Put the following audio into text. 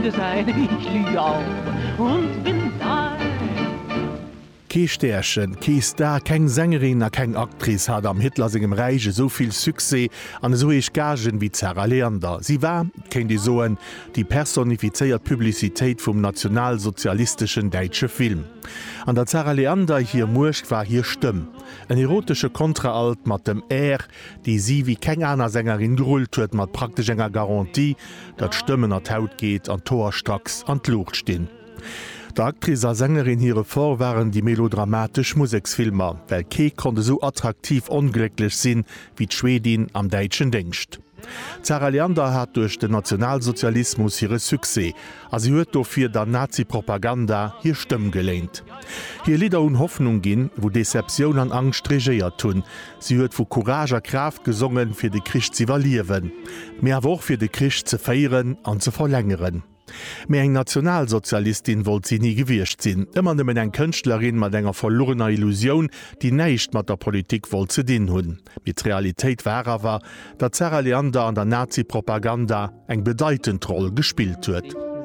Freunde sein, ich lieg auf und bin dein. Kee Stärchen, kee Star, keng Sängerin a keng Actrice hat am Hitler sengem Räich esou vill Succès an esou héich Gagen wéi d'Zara Leander. Si war, kéint ee soen, déi personifizéiert Publicitéit vum nationalsozialisteschen däitsche Film. An der Zarah Leander hir Muecht war hir Stëmm. En erotesche Kontraalt mat dem Air, dee si wéi keng aner Sängerin gerullt huet, mat praktesch enger Garantie, datt d'Stëmm ënner d'Haut geet an d'Hoer stracks an d'Luucht stinn. Der Actrice a Sängerin hire Fort waren déi melodramatesch Museksfilmer, well kee konnt esou attraktiv onglécklech sinn, wéi d'Schwedin am däitschen Déngscht. D'Zara Leander hat duerch den Nationalsozialismus hire Succès a si huet dofir der Nazi-Propaganda hir Stëmm geléint. Hir Lidder hunn Hoffnung ginn, wou Deceptioun an Angscht regéiert hunn. Si huet vu Courage a Kraaft gesongen, fir de Krich z'iwwerliewen, mee awer och fir de Krich ze féieren an ze verlängeren. Mee eng Nationalsozialistin wollt si ni gewiescht sinn, ëmmer nëmmen eng Kënschtlerin mat enger verluerener Illusioun, déi näischt mat der Politik wollt ze dinn hunn. Mee d'Realitéit war awer, datt d'Zara Leander an der Nazi-Propaganda eng bedeitend Roll gespillt huet.